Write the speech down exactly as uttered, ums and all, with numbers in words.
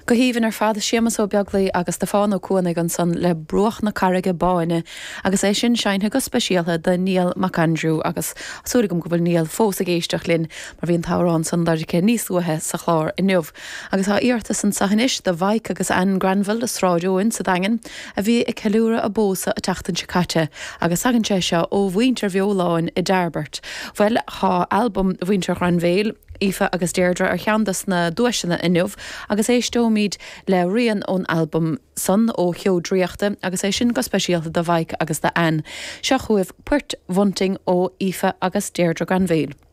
Go haoibhinn ar fad Séamus Ó Beaglaoich agus Stiofán Ó Cuanaigh ansan le Bruach na Carraige Báine agus é sin seinnte go speisialta do Niall Mac Aindriú agus súil agam go bhfuil Niall fós ag éisteacht linn mar bhí an t-amhrán san lorgtha níos luaithe sa chlár inniu. Agus tá iarratas anseo anois do Mhaidhc agus Ann Granville i Sráid Eoin sa Daingean a bhí ag ceiliúradh a bpósadh an tseachtain seo caite agus tagann sé seo ó mhuintir Bheoláin i dTairbeart. Well tá albam mhuintir Ghranville, Aoife agus Deirdre ar cheann des na duaiseanna inniu agus éisteoimid le rian ón albam san ó Cheo Draíochta agus é sin go speisialta do Mhaidhc agus do Ann. Seo chugaibh Port Bhunting ó Aoife agus Deirdre Granville.